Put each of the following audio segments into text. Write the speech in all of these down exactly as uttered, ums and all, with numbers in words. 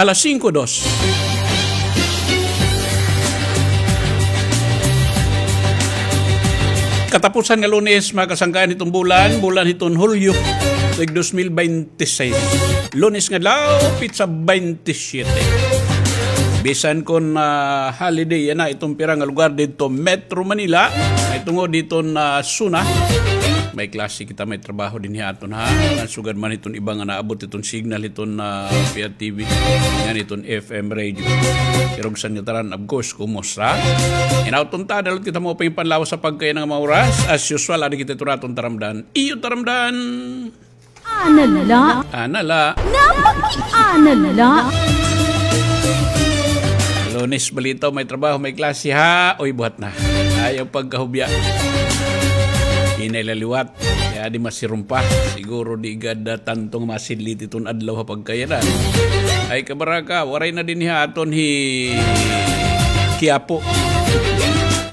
Alas singko dos. Katapusan nga Lunes, mga kasangkayan, hiton bulan, bulan hiton Hulyo, tuig dos mil baynte sais. Lunes nga adlaw, petsa baynte siyete. Bisan kon, ah, holiday yana iton pira nga lugar didto Metro Manila, mahitungod hiton, ah, SONA. May klase kita, may trabaho dinhi ha aton, ha. Sugad man hiton iba nga naabot hiton signal hiton, ah, P R T V. Ngan hiton F M radio. Pero bisan ngatanan, of course, kumusta? Hinaot unta, dala kita maupay nga panlawas ha pagkaiyan nga mga oras. As usual, adi kita hiton aton taramdan. Iyo taramdan. Ana la. Ana la. Napaki-ana la. Lunes balitaw, may trabaho, may klase, ha? Uy, buhat na. Ayaw pagkahubya. Hinay la liwat. Kay adi masirumpa. Siguro di gad, ah, tanto nga masidlit iton adlaw ha pagkaiyan. Ay, kabaraka, waray na dinhi ha aton hi Quiapo.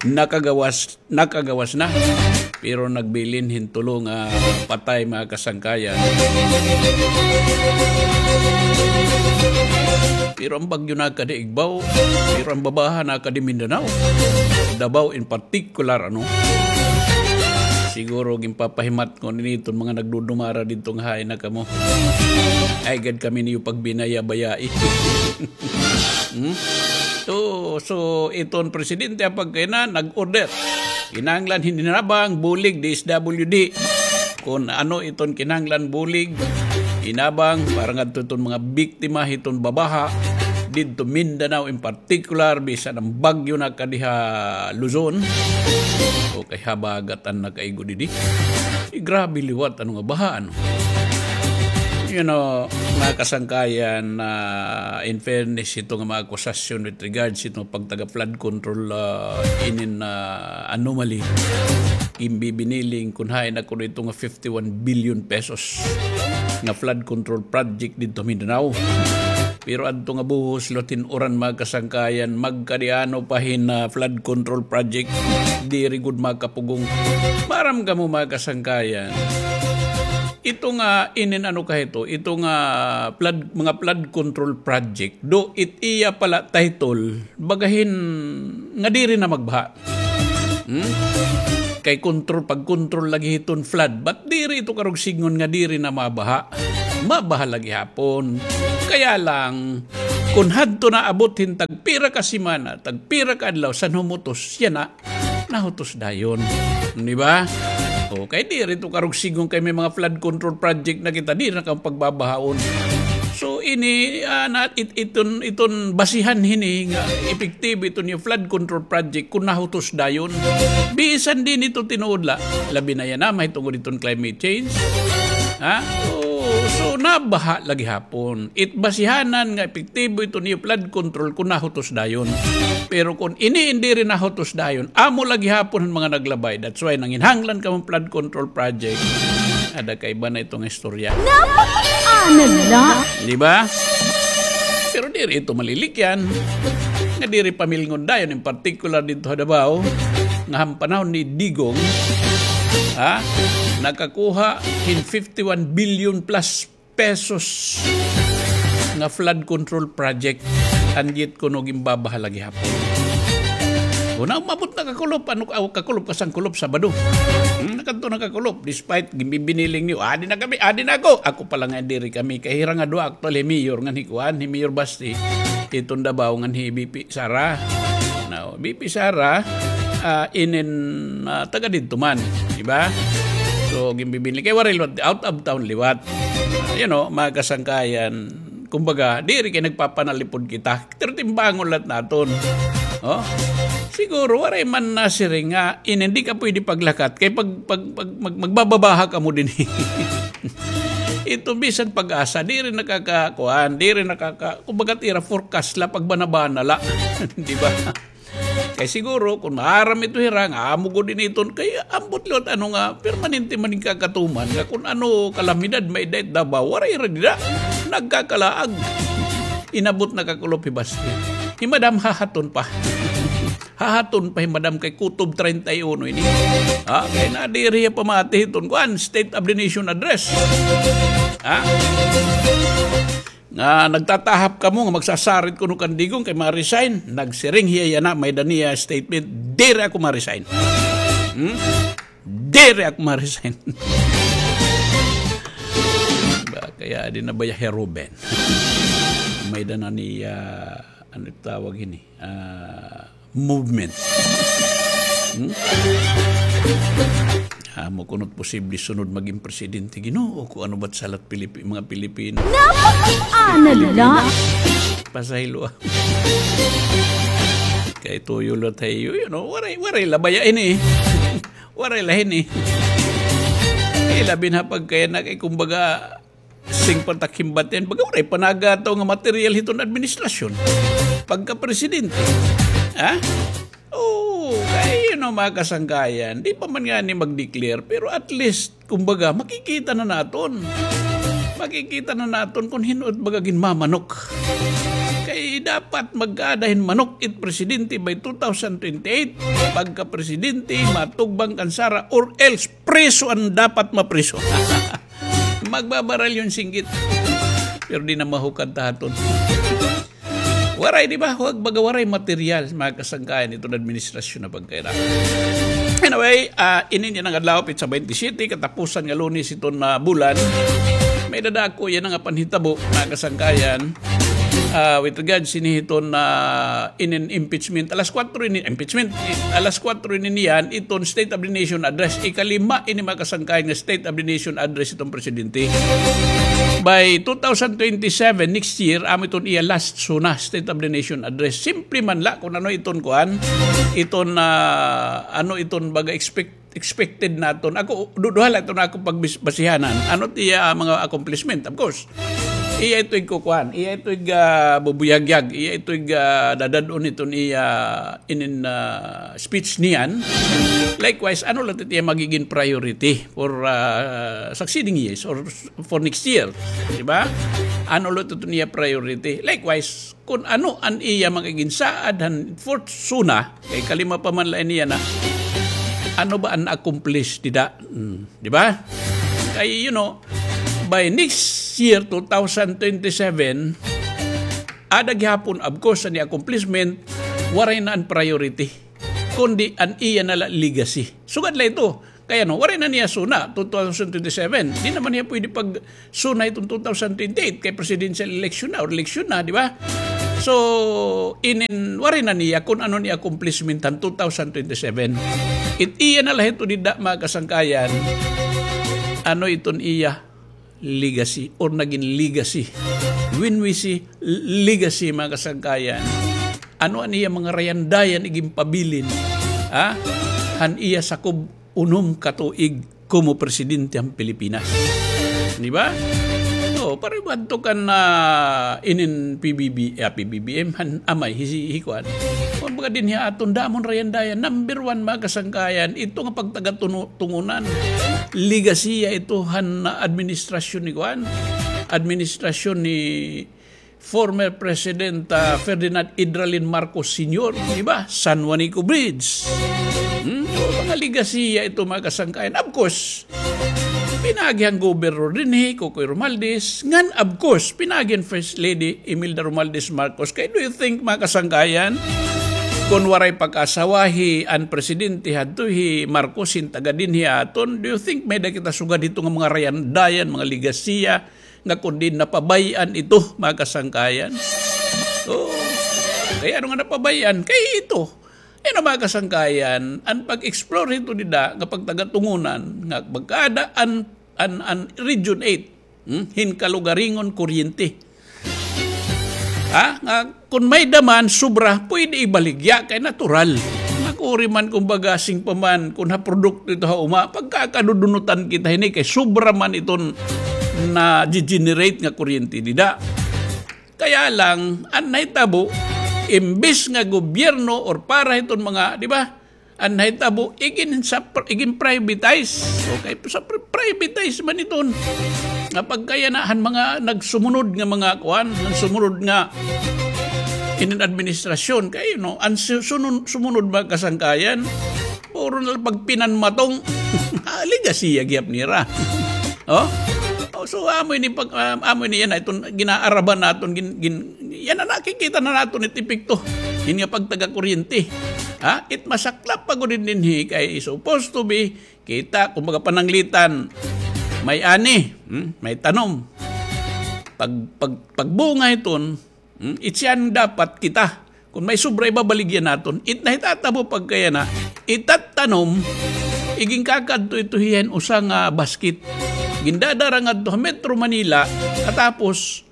Nakagawas, nakagawas na. Pero nagbilin hin tulo nga patay, mga kasangkayan. Pero an bagyo nakadi Igbaw, pero an babaha nakadi Mindanao. Davao in particular, ano? Siguro ginpapahimat-on ini hiton mga nagdudumara didto nga hain na kamo. Ayaw gad kami niyo pagbinaya-bayai. Hmm? So, so, iton presidente ha pagkaiyan nag-order. Kinahanglan hin hinabang, bulig, D S W D. Kon ano iton kinahanglan bulig, hinabang, para ngadto iton mga biktima hiton babaha didto Mindanao in particular, bisan an bagyo nakadi ha Luzon. O kay habagat an nakaigo didi. Eh, grabe liwat, ano nga baha, ano? You know, mga kasangkayan, ah, in fairness, ito nga mga akusasyon with regards ito nga pagtaga flood control, ah, inin, ah, anomaly. Ginbibiniling kun hain ako dito nga fifty-one billion pesos nga flood control project dito Mindanao. Pero adto nga buhos, liwat hin uran, mga kasangkayan, magkadi ano pa hin, ah, flood control project, diri gud makapugong. Maaram kamo, mga kasangkayan. Ito nga inin ano ka hito, ito nga flood, mga flood control project, do it iya pala title, bagahin nga diri na magbaha. Hmm? Kay control, pag-control lagi hiton flood. But diri ito karugsingon nga diri na mabaha. Mabaha lagi hapon. Kaya lang, kun hadto na abot hin tagpira ka semana, tagpira ka adlaw, san humutos, yana, nahutos dayon. Di ba? O, kay diri ito karugsingon kay may mga flood control project na kita, diri na kamo pagbabahaon. So, ini, ah, na, it-, iton, iton basihan hini nga epektibo iton iyo flood control project kun nahutos dayon. Bisan dinhi ito tinuod la, labi na yana, mahitungod iton climate change. Ha? O, so, nabaha lagi hapon. It basihanan nga epektibo iton iyo flood control kun nahutos dayon. Pero kun ini in diri nahutos dayon, amo lagi hapon an mga naglabay. That's why nanginhanglan kamo flood control project. Ada kaiba na ito nga istorya. Napaki-ana la. Di ba? Pero diri ito malilikyan. Nga diri pamilngon dayon, in particular dito ha Davao, nga han panahon ni Digong, ha, nakakuha hin fifty-one billion plus pesos nga flood control project, and yet kuno ginbabaha la gihapon. Una, umabot na kakulop, ano, aw, kakulop, kasangkulop, Sabado. Hmm, nakadto na kakulop, despite ginbibiniling niyo, "Adi na kami, adi na ako." Ako pa la nga diri kami, kay hira nga duha actually, mayor, ngan hi kuan, hi Mayor Basti, hiton Davao, ngan hi V P Sara. Now, V P Sara, ah, inin, ah, taga didto man, di ba? So, ginbibinli kay waray liwat, out of town liwat. Ah, you know, mga kasangkayan, kumbaga, diri kay nagpapanalipod kita. Pero timbangon la naton. Oh? Siguro, waray man nasiring nga, inin, di ka pwede paglakat. Kay pag, pag, pag, mag-, magbababaha kamo dinhi. Ito, bisan PAGASA, diri nakakakuan, diri nakaka-, kumbaga, it ira forecast la, pagbana-bana la. Di ba? Kay siguro, kun maaram ito hira nga amo gud ini iton, kay ambot liwat ano nga, permanente man in kakatuman, nga kun ano kalamidad may-ada it Davao, waray ra dida. Nagkakalaag. Inabot na kakulop hi Basti. Hi Madam hahaton pa. Hahaton pa hi Madam kay kutob treinta y uno ini. Ha? Kay nadiri hiya pamati hiton kuan, State of the Nation Address. Ha? Nga nagtatahap kamo nga magsasarit kuno kan Digong kay ma-resign. Nagsiring hiya yana, may-ada niya statement, "Diri ako ma-resign." Hmm? "Diri ako ma-resign." Ba, kay adi na baya hi Ruben. May-ada na niya, ano tawag ini? Ah, movement. Hmm? Amo kuno it posible sunod magin presidente, Ginoo ko, ano ba it sala it Pilipi-, mga Pilipino? Napakaana la. Pasaylo, ah. Kay tuyo la tayo, you know, waray, waray la baya ini. Waray la hini. Eh, labi na pagkaya na kay, kumbaga, sing patakimbat yan. Baga waray pa nagataw nga material hiton administrasyon. Pagka-presidente. Ha? Oo, kay, you know, mga kasangkayan, di pa man ngani mag-declare, pero at least, kumbaga, makikita na naton. Makikita na naton kung hin-o it baga ginmamanok. Kay dapat magkaada hin manok it presidente by two thousand twenty-eight. Pagka-presidente, matugbang kan Sara or else preso an dapat mapreso. Magbabaril yon singgit. Pero di na mahukad ta haton. Waray, di ba? Huwag baga waray material, mga kasangkayan, iton administrasyon na pagkaira. Anyway, ah, inin yana nga adlaw, petsa twenty-seven, katapusan nga Lunes iton, ah, bulan. May-ada dako yana nga panhitabo, mga kasangkayan. Ah, with regards ini hiton, ah, inin impeachment, alas kwatro ini, impeachment, i-, alas kwatro ini niyan, iton State of the Nation Address, ikalima ini, mga kasangkayan, nga State of the Nation Address iton presidente. By two thousand twenty-seven, next year, amo iton iya last SONA, State of the Nation Address. Simple man la kun ano iton kuan, iton, ah, ano iton baga expect-, expected naton. Ako, du-, duha la iton ako pagbasihanan. Ano it iya, ah, mga accomplishment, of course. Iya ito ig kukuan, iya ito ig, ah, bubuyagyag, iya ito ig, ah, dadad-on iton iya inin, ah, speech niyan. Likewise, ano la it iya magigin priority for, ah, succeeding years or for next year, di ba? Ano la it iya priority? Likewise, kun ano an iya magigin saad han fourth SONA, kay kalima pa man la ini yana, ano ba an accomplish dida? Hmm, di ba? Kay, you know, by next year, two thousand twenty-seven, ada gihapon, of course, an iya accomplishment, waray na an priority, kundi an iya na la legacy. Sugad la ito. Kay ano, waray na niya SONA, two thousand twenty-seven. Di naman niya pwede pag-SONA iton two thousand twenty-eight, kay presidential election na, or election na, di ba? So, inin, waray na niya kun ano ni accomplishment han two thousand twenty-seven. It iya na la ito dida, mga kasangkayan. Ano iton iya legacy or nagin legacy? When we say legacy, mga kasangkayan, ano an iya mga rayandayan iginpabilin, ha? Han iya sakob unom ka tuig komo presidente han Pilipinas. Di ba? O, pareho adto kan, ah, inin P B B, ah, P B B M, han amay, hi, hi kuan. Kumbaga dinhi ha aton, damo an rayandayan. Number one, mga kasangkayan, ito nga pagtagatungunan. Legasiya ito han administrasyon ni kuan. Administrasyon ni former President, ah, Ferdinand Idralin Marcos Senior, di ba? San Juanico Bridge. Hmm? So, mga legasiya ito, mga kasangkayan. Of course, pinaagi han Governor dinhi, Cocoy Romualdez. Ngan, of course, pinaagi han First Lady Imelda Romualdez Marcos. Kay, do you think, mga kasangkayan, kun waray pag-asawahi an presidente hadto hi Marcos hin taga dinhi aton, do you think may-ada kita sugad hito nga mga rayandayan, mga legasiya, nga kundi napabay-an ito, mga kasangkayan. Oo. Kay ano nga napabay-an? Kay ito. Ano, mga kasangkayan, an pag-explore hito dida nga pagtagatungunan nga magkaada an, an, an Region eight, hmm? Hin kalugaringon kuryente. Ha? Nga kun may-ada man, sobra, pwede ibaligya kay natural. Nakuri man, kumbaga, sing pa man, kun ha produkto ito ha uma, pagkakadudunutan kita hini kay sobra man iton na-generate nga kuryente dida. Kaya lang, an nahitabo, imbis nga gobyerno or para hiton mga, di ba? An nahitabo, igin sa pr-, igin privatize. Okay, sa pri-, privatize man iton. Nga pagkaya na, han mga nagsumunod nga mga kuan, han sumunod nga inin administrasyon. Kay, you know, an su-, sunun-, sumunod mga kasangkayan, puro na la pagpinanmatong. Ah, legasiya gihap nira. Oh? Oh, so, So, amo ini pag, um, amo ini yana, iton ginaaraban naton, gin-, gin-, yana nakikita na naton it epekto. Ini nga pagtaga-kuryente. Ha? It masaklap pa gud dinhi kay supposed to be, kita, kumbaga pananglitan, may ani, hmm? May tanom. Pag, pag, pagbunga iton, hmm? It siyan dapat kita. Kun may sobra, ibabaligya naton. It nahitatabo pagkayana, itattanom, iginkakadto ito hiya hin usa nga basket. Gindadara ngadto ha Metro Manila, katapos,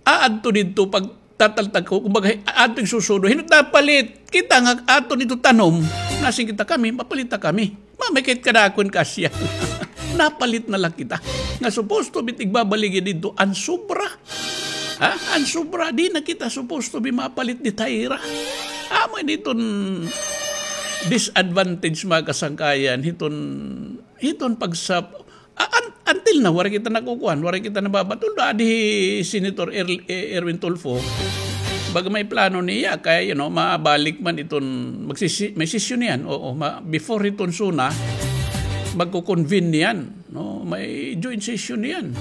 aadto didto pagtataltag ko, kumbaga, aadto ig susudo. Hin-o it napalit? Kita nga aton ito tanom, nasiring kita, kami, mapalit ta kami. Mamikit ka na akon kasya. Napalit na la kita. Nga supposed to be it igbabaligya didto an sobra. Ha? An sobra, di na kita supposed to be mapalit didto ha ira. Amo ini iton disadvantage, mga kasangkayan, hiton, hiton pagsap-, a-, an-, until now, waray kita nakukuan, waray kita nababat-, although adi hi Senator Er-, eh, Erwin Tulfo, baga may plano niya, kay, you know, mabalik man iton, magsisi-, may sesyon niyan, oo, ma-, before hiton SONA, magko-convene niyan, no? May joint session niyan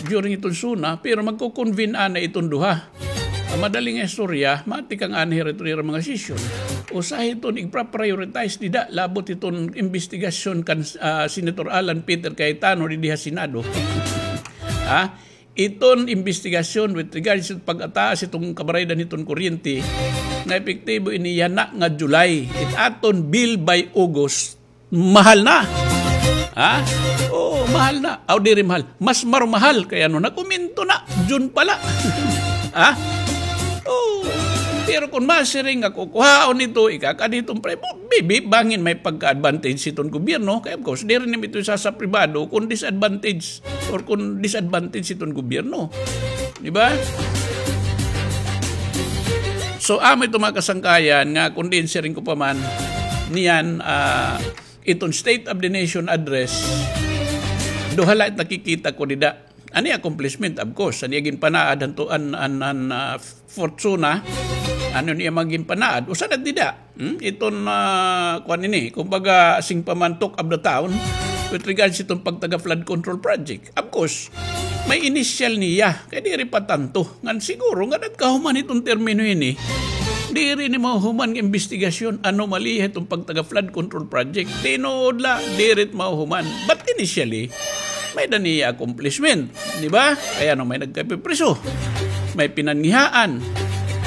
during iton SONA, pero magko-convene anay iton duha. An madali nga istorya, matikang anay hira iton ira mga session. Usa hiton igpa-prioritize dida, labot hiton imbestigasyon kan, ah, Senator Alan Peter Cayetano didi ha Senado. Ha? Iton imbestigasyon with regards to pag-ataas iton kabaraydan hiton kuryente, nga epektibo ini yana nga July. It aton bill by August, mahal na. Ha? Oo, mahal na. Aw, diri mahal. Mas marumahal. Kay ano, nag-umento na. June pa la. Ha? Oo. Pero kun masiring nga kukuhaon ito, ikakadi iton pre-, bibi, bangin may pagka-advantage hiton gobyerno. Kay of course, diri nimo ito isasa pribado kun disadvantage or kun disadvantage hiton gobyerno. Di ba? So, amo ito, mga kasangkayan, nga kun diin siring ko pa man, niyan, ah, iton State of the Nation Address, duha la it nakikita ko dida. An iya accomplishment, of course, an iya ginpanaad han to-, an, an, an, ah, fourth SONA, ano niya mga ginpanaad, usa na dida. Hmm? Iton, ah, kuan ini, kumbaga, sing pa man talk of the town with regards iton pagtaga flood control project. Of course, may initial niya, kay diri pa tanto. Ngan siguro nga nagkahuman iton termino ini, diri ni mahuman nga imbestigasyon, anomalya iton pagtaga flood control project. Tinuod la, diri it mahuman. But initially, may da niya accomplishment, di ba? Kay ano, may nagkapipriso, may pinangihaan.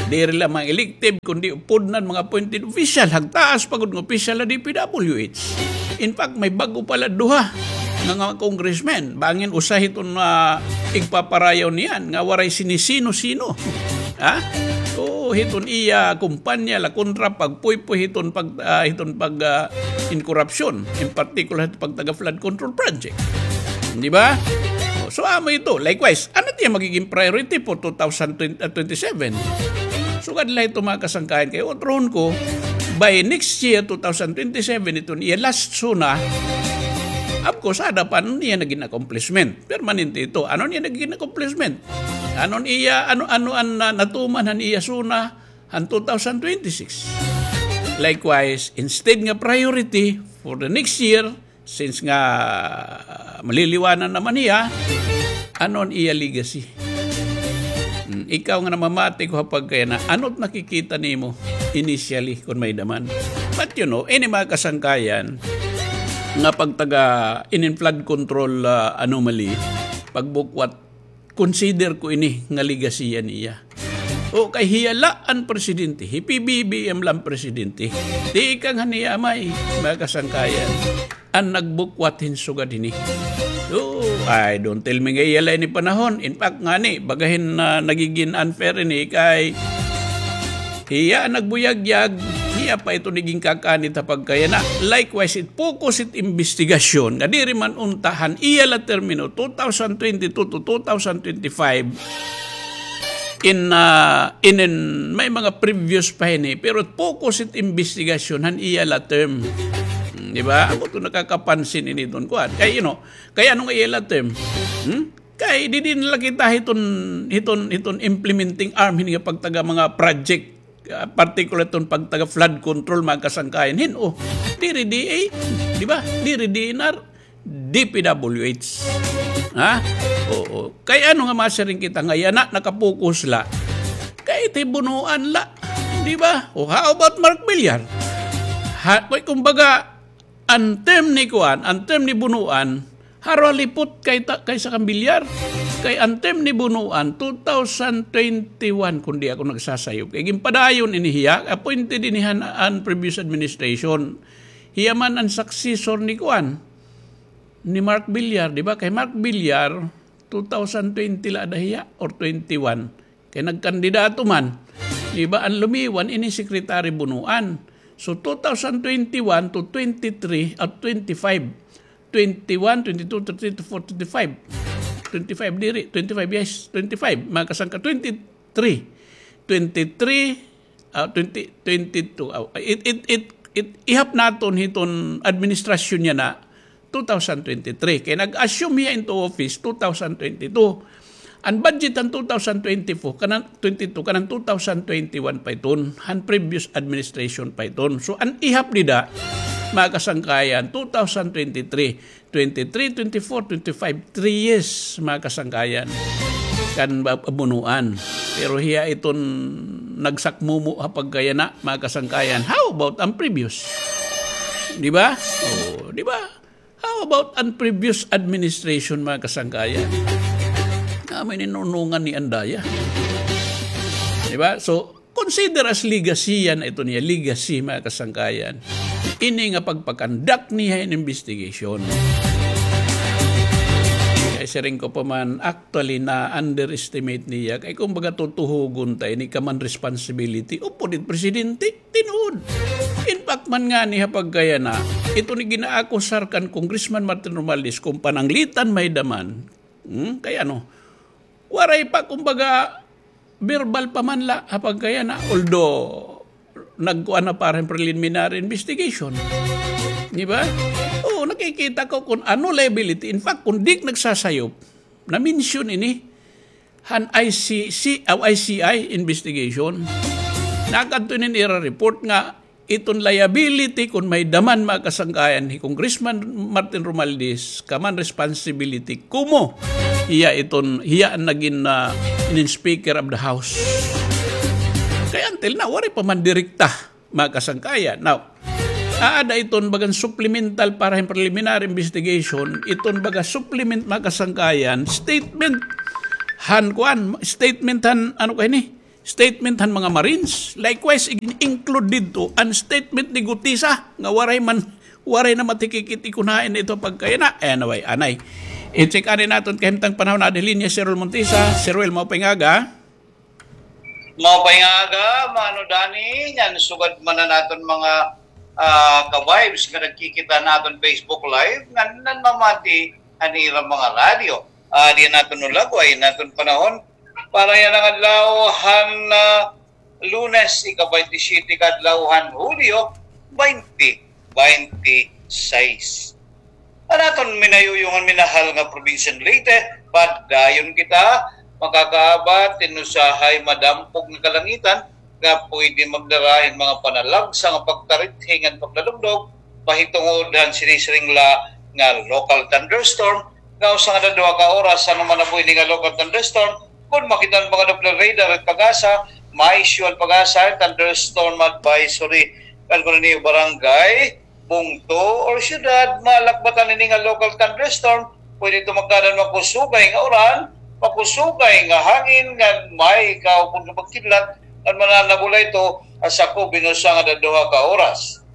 Diri la mga elected, kundi upod na mga appointed official, hagtaas pa gud nga official ha D P W H. In fact, may bag-o pa la duha nga, nga congressmen. Bangin usa hiton, ah, igpaparayaw niyan nga waray sinisino-sino. Ha? Oo, hiton iya kumpanya la kontra pagpuypoy hiton pag, ah, hiton pag, ah, in korupsyon, in particular hiton pagtaga flood control project. Di ba? O, so, amo ito. Likewise, ano it iya magiging priority for two thousand twenty, ah, twenty-seven? Sugad la ito, mga kasangkayan, kay utrohon ko, by next year, two thousand twenty-seven, iton iya last SONA, of course, ada pa an iya nagin accomplishment. Permanente ito. Ano an iya nagin accomplishment? Ano an iya, ano, ano an, ah, natuman han iya SONA han two thousand twenty-six? Likewise, instead nga priority for the next year, since nga, ah, maliliwanan naman hiya, ano an iya legacy? Hmm, ikaw nga namamati ko ha pagkayana, ano it nakikita nimo initially kun may-ada man? But you know, ini mga kasangkayan nga pagtaga inin flood control, ah, anomaly, pagbukwat, consider ko ini nga legacy niya. O kay hiya la an presidente, hi P B B M la an presidente. Tikang han iya amay, mga kasangkayan, an nagbukwat hin sugad hini. So, ay, don't tell me nga iya la ini panahon. In fact, ngani, baga hin, ah, nagigin unfair ini kay hiya an nagbuyagyag, hiya pa ito nagin kakanit ha pagkayana. Likewise, it focus it imbestigasyon nga diri man unta han iya la termino, two thousand twenty-two to two thousand twenty-five. In, ah, in, in, may mga previous pa hini, pero focus it imbestigasyon han iya la term. Hmm, di ba? Amo ito nakakapansin ini iton kuan. Kay, you know, kay ano nga iya la term? Hmm? Kay didi na la kita hiton, hiton, hiton implementing arm hini nga pagtaga mga project, ah, particular iton pagtaga flood control, mga kasangkayan. Hin-o, diri D A, di ba? Diri D N R, D P W H. Ha? Oo. Kay ano nga masiring kita nga yana nakapokus la? Kay it hi Bonoan la. Di ba? O, how about Mark Villar? Ha, kay kumbaga, an term ni kuan, an term ni Bonoan, haro lipot kay ta-, kaysa kan Villar. Kay an term ni Bonoan, two thousand twenty-one, kun di ako nagsasayop. Kay ginpadayon ini hiya, appointed ini han, an previous administration. Hiya man an successor ni kuan, ni Mark Villar, di ba? Kay Mark Villar, two thousand twenty la ada hiya or twenty-one. Kay nagkandidato man. Di ba? An lumiwan, ini Secretary Bonoan. So, two thousand twenty-one to twenty-three, ah, twenty-five. Twenty-one, twenty-two, twenty-three, twenty-four, twenty-five. Twenty-five diri, twenty-five, yes, twenty-five. Mga kasangka, twenty-three, twenty-three, ah, twenty, twenty-two. Ah, it, it, it, it, ihap naton hiton administrasyon niya na two thousand twenty-three. Kay nag-assume hiya into office two thousand twenty-two. An budget han two thousand twenty-four, kanan twenty-two, kanan two thousand twenty-one pa iton, han previous administration pa iton. So, an ihap dida, mga kasangkayan, two thousand twenty-three, twenty-three, twenty-four, twenty-five, three years, mga kasangkayan, kan ba-, Bonoan. Pero hiya iton nagsakmumo ha pagkayana, mga kasangkayan. How about an previous? Di ba? Oh, di ba? How about an previous administration, mga kasangkayan? Nga may ninunungan ni andaya. Di ba? So, consider as legacy yana iton niya. Legacy, mga kasangkayan. Ini nga pagpakandak niya in investigation. Kay siring ko pa man, actually, na-underestimate niya. Kay kumbaga, tutuhugon ta ini common responsibility. Upod it presidente, tinuod. In fact man ngani ha pagkayana, ito ni ginaakusar kan Congressman Martin Romualdez kung pananglitan may daman. Hmm? Kay ano, waray pa, kumbaga, verbal pa man la ha pagkayana, although nagkuan na para hin preliminary investigation. Di ba? Oo, nakikita ko kung ano liability. In fact, kung di nagsasayop, na-mention ini han I C C, ah, I C I investigation. Nakadto ini ira report nga iton liability kon may daman, mga kasangkayan, hi Congressman Martin Romualdez, common responsibility, kumo hiya iton, hiya an nagin, ah, inin Speaker of the House. Kay until now, waray pa man direkta, mga kasangkayan. Now, aada iton bagan supplemental para hin preliminary investigation, iton baga supplement, mga kasangkayan, statement han kuan, statement han, ano kay ni? Statement han mga Marines. Likewise, in-include didto an statement ni Gutisa nga waray man, waray na matikikit ikon hain ito pagkayana. Anyway, anay. I-check ani naton kahimtang panahon, aada ha linya si Sir Ruel Montisa. Sir Ruel, maupay nga aga. Maupay nga aga, Mano Danny. Ngan sugad man an aton mga, ah, ka-vibes nga nagkikita han aton Facebook Live, ngan nanmamati han ira mga radyo. Ah, di naton nulagway an aton panahon. Para yana nga adlaw han, ah, Lunes, ika-baynte siyete ka adlaw han Hulyo, baynte baynte sais. An aton minayuyong ngan minahal nga probinsya han Leyte, padayon kita makakaabat hin usahay madampog nga kalangitan nga pwede magdara hin mga panalagsa nga pagtarithi ngan paglalugdog, mahitungod han sinisiring la nga local thunderstorm, nga usa ngada duha ka oras han manabo ini nga local thunderstorm. Kon makita han mga Doppler radar han PAGASA, ma-issue an PAGASA hin thunderstorm advisory. Kan kuno niyo barangay, bungto, or syudad, malakbatan ini nga local thunderstorm, pwede ito magkaada hin makusugay nga uran, makusugay nga hangin, ngan may kaupod nga pagkidlat, ngan mananabo la ito ha sakob hin usa ngada duha ka oras.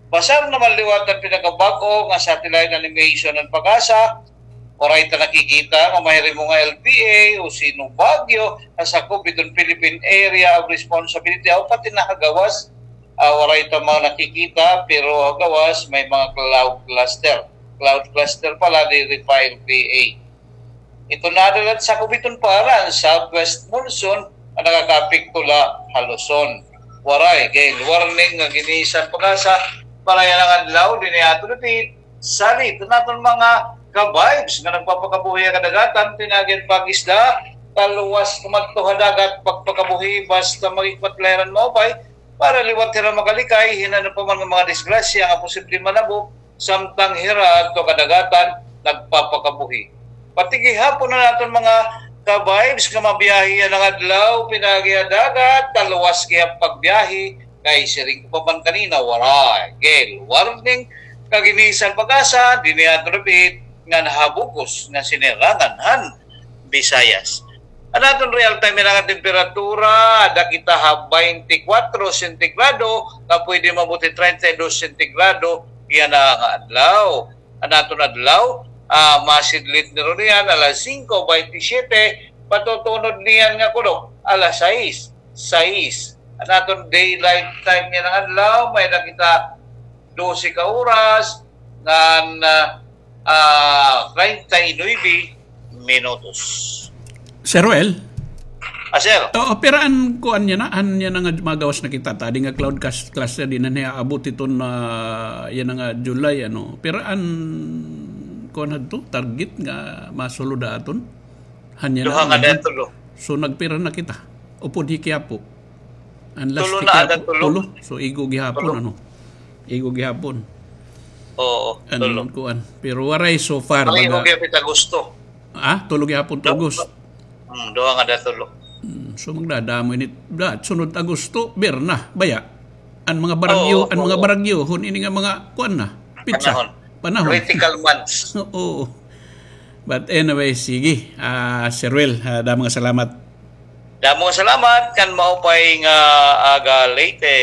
Basar naman liwat han pinakabag-o nga satellite animation han PAGASA, waray ta nakikita nga mahirimo nga L P A o Sino Baguio ha sakob hiton Philippine Area of Responsibility, o pati na ha gawas, ah, waray ta mga nakikita, pero ha gawas may mga cloud cluster. Cloud cluster pala, diri pa L P A. Ito nadala han sakob hiton para an southwest monsoon nga nakakaapekto la ha Luzon. Waray gale warning nga giniisa han PAGASA para yana nga adlaw dinhi ha aton dapit. Salit an aton mga ka-vibes nga nagpapakabuhi ha kadagatan, tinagan pag-isda, kaluwas kumadto ha dagat, pagpakabuhi, basta mag-ikwat la hira hin maupay, para liwat hira makalikay hin ano pa man nga mga disgrasya nga posible manabo, samtang hira adto ha kadagatan nagpapakabuhi. Pati gihapon an aton mga ka-vibes nga mabiyahe yana nga adlaw, pinaagi ha dagat, taluwas gihap pagbiyahe, kay siring ko pa man kanina, waray gale warning, kaginisan pag-asa, dinhi aton repeat, nga nahabugos nga sinirangan han Visayas. An aton real time yana nga temperatura, ada kita ha twenty-four sentigrado, nga pwede maabot treinta y dos sentigrado yana nga adlaw. An aton adlaw, ah, masidlit ni Ronian alas singko baynte siyete, patutunod niyan nga kulop alas sais, sais. An aton daylight time yana nga adlaw, may-ada kita dose ka oras ngan, ah, ah, treinta y nuebe minutos. Sir Ruel? Ah, sir. Oo, pira an kuan yana, an yana nga magawas na kita, tadi nga cloud cas-, cluster dinhi nga aabot iton, ah, yana nga July, ano. Pira an kuan hadto, target nga masulod ha aton? Han yana. Duha nga, ano, tulo. So, nagpira na kita? Upod hi Quiapo. An last tulo hi na, Quiapo, ada tulo. Tulo. So, igo gihapon, tulo, ano? Igo gihapon. Oo, an tulo. Kuan. Pero waray so far, pareho baga gihapon it Agosto. Ah, tulo gihapon it Agosto. Hmm, duha nga ada tulo. Hmm, so magdadamo ini. Da, sunod Agosto, Berna, baya. An mga baragyo, oo, an mga, oo, baragyo, hon ini nga mga kuan na, petsa, panahon. Panahon. Critical months. Oo. But anyway, sige. Ah, Sir Ruel, ah, damo nga salamat. Damo nga salamat, kan maupay nga aga, Leyte.